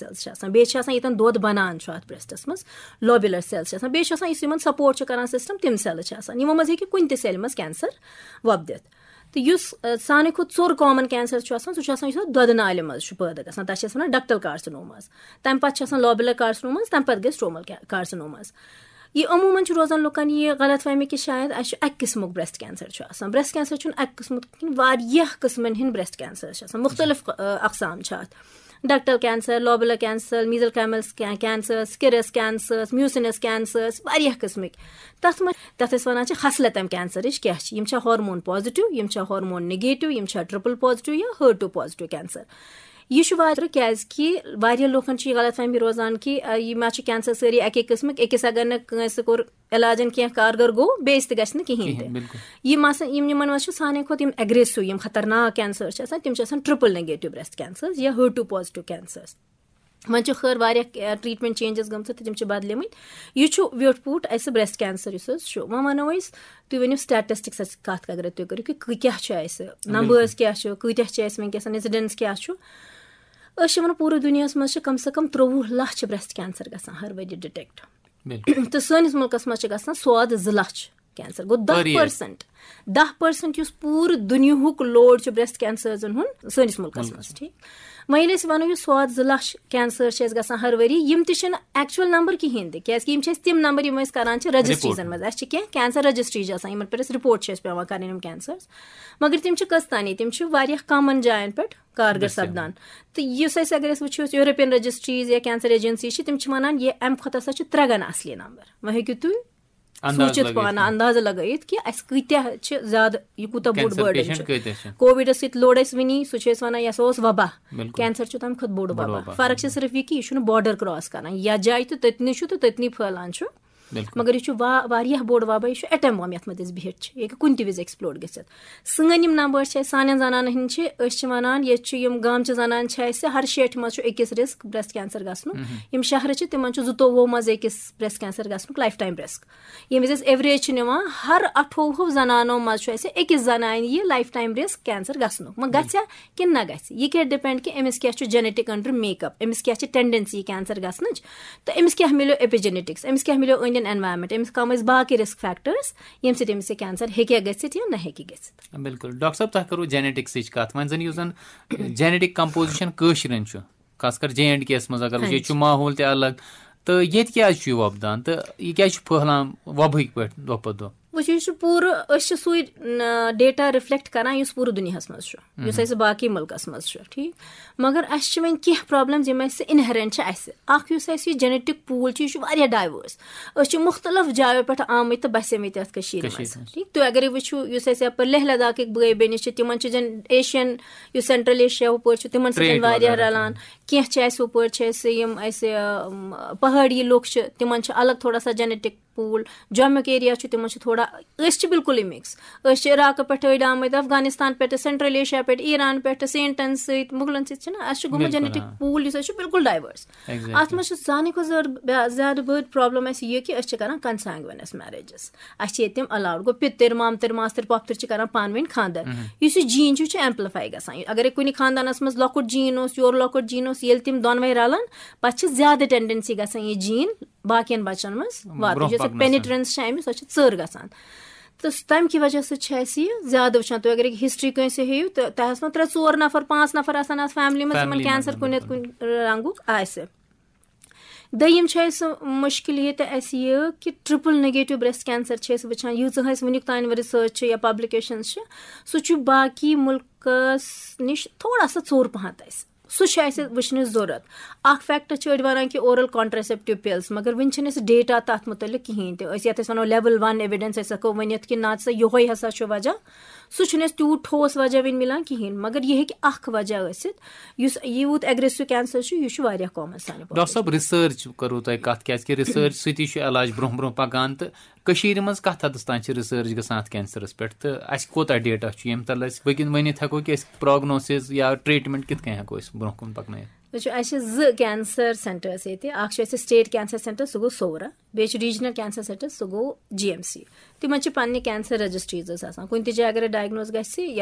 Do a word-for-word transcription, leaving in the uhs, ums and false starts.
Sales چھِ آسان، بیٚیہِ چھِ آسان ییٚتٮ۪ن دۄد بَنان چھُ اَتھ برٛیسٹَس منٛز، لوبیولر سیلز چھِ آسان، بیٚیہِ چھِ آسان یُس یِمَن سپورٹ چھُ کَران سِسٹَم، تِم سیلٕز چھِ آسان، یِمو منٛز ہیٚکہِ کُنہِ تہِ سیلہِ منٛز کینسر وۄپدِتھ۔ تہٕ یُس، آ، ساروی کھۄتہٕ ژوٚر کامن کینسر چھُ آسان، سُہ چھُ آسان یُس اَتھ دۄدٕ نالہِ منٛز چھُ پٲدٕ گژھان، تَتھ چھِ أسۍ وَنان ڈکٹل کارسِنوماز۔ تَمہِ پَتہٕ چھِ آسان لوبیولر کارسِنوماز، تَمہِ پَتہٕ گٔے سٹرومل کیا-، کارسِنوماز۔ یہِ عموٗماً چھُ روزان لُکَن یہِ غلط فہمی کہِ شاید اَسہِ چھُ اَکہِ قٕسمُک برٛیسٹ کینسر چھُ آسان۔ برٛیسٹ کینسر چھُنہٕ اَکہِ قٕسمُک کِہیٖنۍ، واریاہ قٕسمَن ہٕنٛدۍ برٛیسٹ کینسر چھِ آسان، مُختٔلِف، آ، اقسام چھِ اَتھ۔ ڈکٹل کینسر، لوبیولر کینسر، میزل کیمل cancer, scirrhous cancer, mucinous cancer, واریاہ قٕسمٕکۍ۔ تَتھ منٛز، تَتھ أسۍ وَنان چھِ خصلتم کینسرٕچ کیٛاہ چھِ۔ یِم چھا ہارمون پازیٹیو، یِم چھا ہارمون نیگیٹیو، یِم چھا ٹرپل پازیٹیو یا ہر ٹو پازیٹیو کینسر۔ یہِ چھُ واریاہ، کیٛازِ کہِ واریاہ لوٗکَن چھِ یہِ غلط فہمی روزان کہِ، آ، یِم حظ چھِ کینسر سٲری اَکے قٕسمٕکۍ، أکِس اگر نہٕ کٲنٛسہِ کوٚر علاجن کینٛہہ کارگر گوٚو، بیٚیِس تہِ گژھِ نہٕ کِہیٖنۍ تہِ۔ کِہیٖنۍ، بِلکُل۔ یِم آسان، یِم، یِمن منٛز چھُ سانہِ کھۄتہٕ یِم اگریسو، یِم خطرناک کینسر چھِ آسان، تِم چھِ آسان ٹرپل نیگیٹو برٛیسٹ کینسر یا ہر ٹو پازیٹیو کینسر۔ وۄنۍ چھِ خٲر واریاہ، آ، ٹریٹمنٹ چینجز گٔمژٕ تہٕ تِم چھِ بدلیمٕتۍ۔ یہِ چھُ ویوٚٹھ پوٗٹھ اَسہِ برٛیسٹ کینسر یُس حظ چھُ۔ وۄنۍ وَنو أسۍ، تُہۍ ؤنِو سٹیٹسٹکسس کَتھ اگر تُہۍ کٔرِو کہِ کۭتیٛاہ چھُ اَسہِ، بِلکُل۔ نمبٲرٕس کیٛاہ چھُ، کۭتیٛاہ چھِ اَسہِ وٕنکیٚس، انسیڈنس کیٛاہ چھُ۔ أسۍ چھِ وَنان پوٗرٕ دُنیاہَس منٛز چھِ کم سے کم ترٛۆوُہ لَچھ برٛیسٹ کینسر گژھان ہر ؤری ڈِٹیکٹ۔ بِلکُل۔ تہٕ سٲنِس مُلکَس منٛز چھِ گژھان سواد زٕ لَچھ کینسر، گوٚو دَہ per year۔ پٔرسنٹ۔ دَہ پٔرسنٹ یُس پوٗرٕ دُنیاہُک لوڈ چھُ برٛیسٹ کینسرزَن ہُنٛد سٲنِس مُلکَس مُلکَس منٛز، ٹھیٖک۔ وۄنۍ ییٚلہِ أسۍ وَنو یہِ سواد زٕ لَچھ کینسر چھِ اَسہِ گژھان ہر ؤری، یِم تہِ چھِنہٕ ایکچوَل نمبر کِہیٖنۍ تہِ، کیٛازِکہِ یِم چھِ اَسہِ تِم نمبر یِم أسۍ کَران چھِ رجسٹریٖزَن رپورٹ۔ منٛز۔ اَسہِ چھِ کینٛہہ کینسر رجسٹریٖز آسان، یِمَن پٮ۪ٹھ اَسہِ رپورٹ چھِ اَسہِ پٮ۪وان کَرٕنۍ یِم کینسرز، مگر تِم چھِ کٔژ تانی، تِم چھِ واریاہ کمَن جایَن پٮ۪ٹھ کارگر دٔستیاب۔ سپدان۔ تہٕ یُس اَسہِ، اگر أسۍ وٕچھو، یورپین رجسٹریٖز یا کینسر ایجنسی چھِ، تِم چھِ وَنان، یہِ اَمہِ کھۄتہٕ ہسا چھِ ترٛےٚ گَنہٕ اَصلی نمبر۔ وۄنۍ ہیٚکِو تُہۍ انداز سوٗنٛچِتھ لگٲیِتھ پانہٕ، کانٛہہ۔ اندازٕ لگٲیِتھ کہِ اَسہِ کۭتیٛاہ چھِ زیادٕ، یہِ کوٗتاہ بوٚڑ کینسر بٲرڈن پیشنٹ چھُ۔ کۭتیٛاہ چھِ؟ کووِڈس سۭتۍ لوٚڑ اَسہِ وٕنی، سُہ چھُ اَسہِ وَنان، یہِ ہسا اوس وبا۔ بِلکُل۔ کینسر چھُ تَمہِ کھۄتہٕ بوٚڑ بوٚڑ وبا۔ وبا۔ فرق چھِ صرف یہِ کہِ یہِ چھُنہٕ بارڈر کراس کران، یَتھ جایہِ تہٕ تٔتنٕے چھُ تہٕ تٔتنٕے پھٔہلان چھُ۔ بِلکُل۔ مگر یہِ چھُ وا-، واریاہ بوٚڑ وبا، یہِ چھُ ایٹم بم یَتھ منٛز أسۍ بِہِتھ چھِ، یہِ ہیٚکہِ کُنہِ تہِ وِزِ ایکسپلوڈ گٔژھِتھ۔ سٲنۍ یِم نمبر چھِ اَسہِ، سانٮ۪ن زنانن ہٕنٛدۍ چھِ، أسۍ چھِ وَنان، ییٚتہِ چھِ یِم گامچہِ زنانہٕ چھِ اَسہِ، ہر شیٹھِ منٛز چھُ أکِس رِسک برٛیسٹ کینسر گژھنُک۔ مہم۔ یِم شہرٕ چھِ، تِمن چھُ زٕتووُہو منٛز أکِس برٛیسٹ کینسر گژھنُک لایف ٹایم رِسک۔ ییٚمہِ وِزِ أسۍ ایوریج چھِ نِوان، ہر اَٹھووُہو زنانو منٛز چھُ اَسہِ أکِس زنانہِ یہِ لایف ٹایم رِسک کینسر گژھنُک۔ وۄنۍ گژھِ ہا کِنہٕ نہ گژھِ؟ یہِ کیٛاہ ڈِپینڈ کہِ أمِس کیٛاہ چھُ جینیٹک اندرٕ میک اپ، أمِس کیٛاہ چھِ ٹینڈنسی کینسر گژھنٕچ، تہٕ أمِس کیٛاہ مِلیو ایپیجینیٹکس، أٔمِس کیٛاہ مِلیو أنٛدۍ أنٛدۍ انوائرمنٹ، أٔمِس کم ٲسۍ باقٕے رِسک فیکٹرز، ییٚمہِ سۭتۍ أمِس یہِ کینسر ہیٚکہِ گٔژھِتھ یا نہ ہیٚکہِ گٔژھِتھ۔ بِلکُل۔ ڈاکٹر صٲب، تۄہہِ کٔروٕ جینیٹکسٕچ کتھ، وۄنۍ زن یُس زن جینیٹک کمپوزیشن کٲشرٮ۪ن چھُ، خاص کر جے اینڈ کے یس منٛز، اگر وٕچھو، ہاں ییٚتہِ چھُ جی۔ ماحول تہِ الگ، تہٕ ییٚتہِ کیٛازِ چھُ یہِ وۄپدان تہٕ یہِ کیٛازِ چھُ پھٔہلان وۄبہٕکۍ پٲٹھۍ دۄہ پتہٕ دۄہ؟ وٕچھِو، یہِ چھُ پوٗرٕ، أسۍ چھِ سُے، ن-، ڈیٹا رِفلیکٹ کران یُس پوٗرٕ دُنیاہَس منٛز چھُ، یُس مہم۔ اَسہِ باقٕے مُلکَس منٛز چھُ، ٹھیٖک۔ مگر اَسہِ چھِ وۄنۍ کینٛہہ پرابلمز یِم اَسہِ انہرنٹ چھِ اَسہِ۔ اَکھ یُس اَسہِ یہِ جینیٹک پوٗل چھُ، یہِ چھُ واریاہ ڈائیورس۔ أسۍ چھِ مُختلف جایو پٮ۪ٹھ آمٕتۍ تہٕ بسیمٕتۍ یَتھ کٔشیٖرِ کٔشیٖرِ منٛز، منٛز۔ ٹھیٖک۔ تُہۍ اگرے وٕچھِو، یُس اَسہِ یَپٲرۍ لیہہ لداخٕکۍ بٲے بیٚنہِ چھِ، تِمن چھِ زن ایشین، یُس سینٹرل ایشیا ہُپٲرۍ چھُ، تِمن سۭتۍ ٹریڈ واریاہ وغیرہ۔ رلان۔ کینٛہہ چھِ اَسہِ ہُپٲرۍ چھِ اَسہِ یِم اَسہِ، ام، پہٲڑی لُکھ چھِ، تِمن چھِ الگ تھوڑا سا جینیٹک پوٗل۔ جوٚمُک ایریا چھُ، تِمن چھُ تھوڑا، أسۍ چھِ بالکلٕے مِکس۔ أسۍ چھِ عراقہٕ پٮ۪ٹھ أڑۍ آمٕتۍ، افغانستان پٮ۪ٹھ، سینٹرل ایشیا پٮ۪ٹھ، ایران پٮ۪ٹھ، سینٹن سۭتۍ، مُغلن سۭتۍ چھِنہ، اَسہِ چھُ گوٚمُت بالکل، جینیٹک آ۔ پوٗل یُس اَسہِ چھُ، بالکل ڈائیورس۔ ایگزیکٹلی۔ اَتھ منٛز چھِ سانہِ کھۄتہٕ زیادٕ، زیادٕ بٔڑ پرابلم اَسہِ یہِ کہِ أسۍ چھِ کران کنسینگوینس میریجز۔ اَسہِ چھِ ییٚتہِ تِم الاؤڈ۔ گوٚو، پِتٕر، مامتٕر، ماستٕر، پۄپھتٕر چھِ کران پانہٕ ؤنۍ خانٛدر۔ مہم۔ یُس یہِ جین چھُ، یہِ چھُ ایمپلیفائی گژھان۔ اگرے کُنہِ خاندانس منٛز لۄکُٹ جین اوس، یورٕ لۄکُٹ جین اوس، ییٚلہِ تِم دۄنوے رلان، پتہٕ چھِ زیادٕ ٹینڈنسی گژھان یہِ جین باقین بچن منٛز واتنٕچ۔ برونٛہہ یۄس یہِ پکنس منٛز۔ پینیٹرنس چھِ اَمِچ، سۄ چھِ ژٔر گژھان۔ تہٕ تَمہِ کہِ وجہ سۭتۍ چھِ اَسہِ یہِ زیادٕ وٕچھان۔ تُہۍ اگر ہسٹری کٲنٛسہِ ہیٚیِو، تہٕ تۄہہِ آسنو ترٛےٚ ژور نفر، پانٛژھ نفر آسن اَتھ فیملی منٛز، یِمن فیملی کینسر منٛز، کُنہِ نتہٕ بِلکُل۔ کُنہِ رنگُک آسہِ۔ دوٚیِم چھُ اَسہِ مُشکِل ییٚتہِ اَسہِ یہِ کہِ ٹرپل نیگیٹو برٛیسٹ کینسر چھِ أسۍ وٕچھان، ییٖژاہ اَسہِ وٕنیُک تام ریسرچ چھِ یا پبلکیشنز چھِ، سُہ چھُ باقی مُلکس نِش تھوڑا سا ژوٚر پہن اَسہِ۔ سُہ چھُ اَسہِ وٕچھنٕچ ضروٗرت۔ اکھ فیکٹ چھِ أڑۍ وَنان کہِ اورل کانٹراسیپٹو پِلز، مگر وٕنہِ چھِنہٕ اَسہِ ڈیٹا تَتھ مُتعلِق کِہیٖنۍ تہِ۔ أسۍ یَتھ أسۍ وَنو لیول ون ایویڈنس، أسۍ ہٮ۪کو ؤنِتھ کہِ نہ سا یِہوٚے ہسا چھُ وجہ، سُہ چھُنہٕ اَسہِ تیوٗت ٹھوس وجہ وٕنہِ مِلان کِہیٖنۍ۔ مگر یہِ ہیٚکہِ اکھ وجہ ٲسِتھ، یُس یوٗت اگریسو کینسر چھُ، یہِ چھُ واریاہ کامن سانہِ ڈاکٹر صٲب، population۔ ریسرچ کٔروٕ تۄہہِ کتھ، کیازِ کہِ ریسرچ سۭتی چھُ علاج برونٛہہ برونٛہہ پکان، تہٕ کٔشیٖرِ منٛز کتھ حدس تام چھِ ریسرچ گژھان اتھ کینسرس پٮ۪ٹھ، تہٕ اسہِ کوتاہ ڈیٹا چھُ ییٚمہِ تلہٕ اسہِ وٕنکیٚن ؤنِتھ ہٮ۪کو کہِ أسۍ پروگنوسز یا ٹریٹمنٹ کِتھ کٔنۍ ہٮ۪کو أسۍ برونٛہہ کُن پکنٲیِتھ؟ وٕچھِو، اَسہِ چھِ زٕ کینسر سینٹرس ییٚتہِ۔ اکھ چھُ اَسہِ سٹیٹ کینسر سینٹر، سُہ گوٚو صورہ، بیٚیہِ چھُ ریجنل کینسر سینٹر، سُہ گوٚو جی ایم سی۔ تِمن چھِ پننہِ کینسر رجسٹریٖز آسان۔ کُنہِ تہِ جایہِ اگر ڈائگنوز گژھِ یا